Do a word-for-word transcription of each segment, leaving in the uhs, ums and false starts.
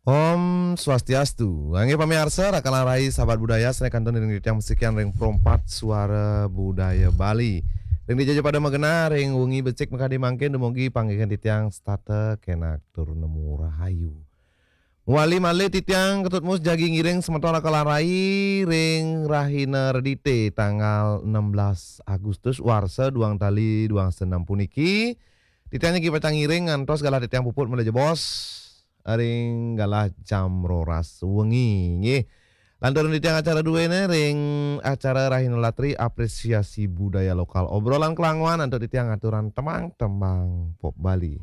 Om Swastiastu. Inggih pamiarsa, raka lan rai sahabat budaya, sané kantun ring titiang masikian ring Pro empat Suara Budaya Bali. Ring dija ja pada magenah, ring wengi becik makadi mangkin dumugi panggihin titiang setata kenak tur nemu rahayu. Mawali malih titiang Ketut Mus jagi ngiring semeton raka lan rai ring rahina Redité tanggal enam belas Agustus warsa duang tali duang senam puniki. Titiang jagi pacang ngiring ngantos galah titiang puput malih jebos ring galah jam roras wengi, nggih. Lanturang titiang acara duéné ring acara Rahina Latri Apresiasi Budaya Lokal, obrolan kelanguan antuk titiang aturan tembang-tembang pop Bali.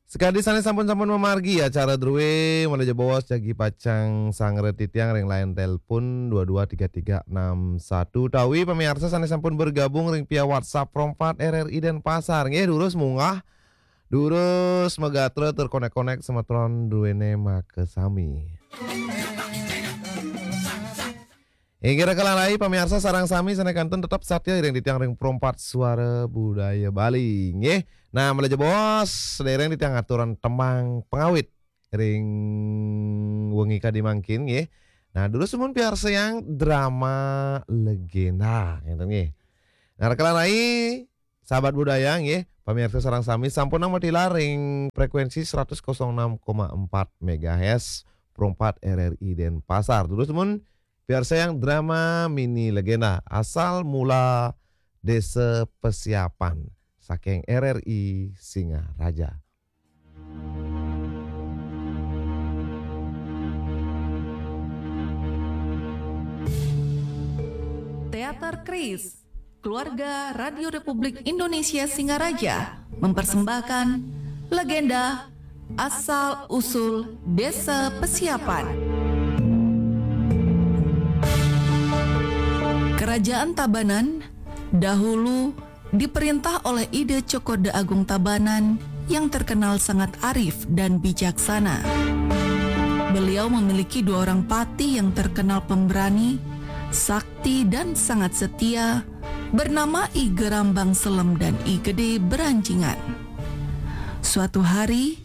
Sakadi sané sampun-sampun mamargi acara drué, malih jebos jagi pacang sangra titiang ring line telepon dua dua tiga tiga enam satu, utawi pamiarsa sané sampun bergabung ring via WhatsApp Pro empat R R I Denpasar. Nggih, durus munggah, durus magatra tur konek-konek semeton druéné makasami. Inggih raka lan rai pamiarsa sareng sami sané kantun tetep satia ring titiang ring Pro empat Suara Budaya Bali, nggih. Nah, malih jebos, sadéréng titiang aturan tembang pangawit ring wengi kadi mangkin, nggih. Nah, durus dumun piarsayang drama legenda, ngéten nggih. Nah, raka lan rai, sahabat budaya, nggih, pamiarsa sareng sami sampunang matilar ring frekuensi seratus koma enam koma empat megahertz, Pro empat R R I Denpasar. Durus dumun piarsayang drama mini legenda Asal Mula Desa Pesiapan saking R R I Singaraja. Teater Kris, keluarga Radio Republik Indonesia Singaraja, mempersembahkan legenda asal usul Desa Pesiapan. Kerajaan Tabanan dahulu diperintah oleh Ida Cokorda Agung Tabanan yang terkenal sangat arif dan bijaksana. Beliau memiliki dua orang patih yang terkenal pemberani, sakti, dan sangat setia, bernama I Gerambang Selem dan I Gede Beranjingan. Suatu hari,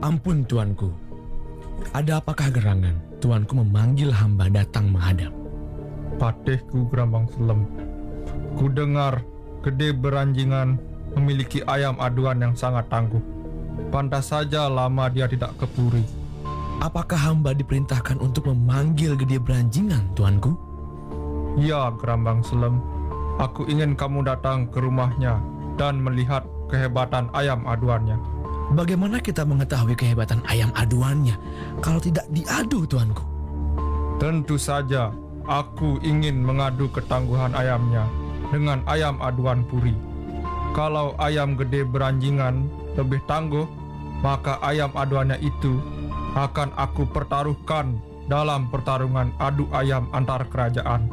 Ampun, Tuanku. Ada apakah gerangan Tuanku memanggil hamba datang menghadap? Patihku Gerambang Selem, kudengar Gede Beranjingan memiliki ayam aduan yang sangat tangguh. Pantas saja lama dia tidak ke Puri. Apakah hamba diperintahkan untuk memanggil Gede Beranjingan, Tuanku? Ya, Gerambang Selem, aku ingin kamu datang ke rumahnya dan melihat kehebatan ayam aduannya. Bagaimana kita mengetahui kehebatan ayam aduannya kalau tidak diadu, Tuanku? Tentu saja, aku ingin mengadu ketangguhan ayamnya dengan ayam aduan Puri. Kalau ayam Gede Beranjingan lebih tangguh, maka ayam aduannya itu akan aku pertaruhkan dalam pertarungan adu ayam antar kerajaan.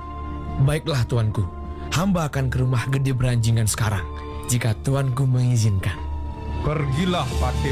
Baiklah, Tuanku. Hamba akan ke rumah Gede Beranjingan sekarang, jika Tuanku mengizinkan. Pergilah, Patih.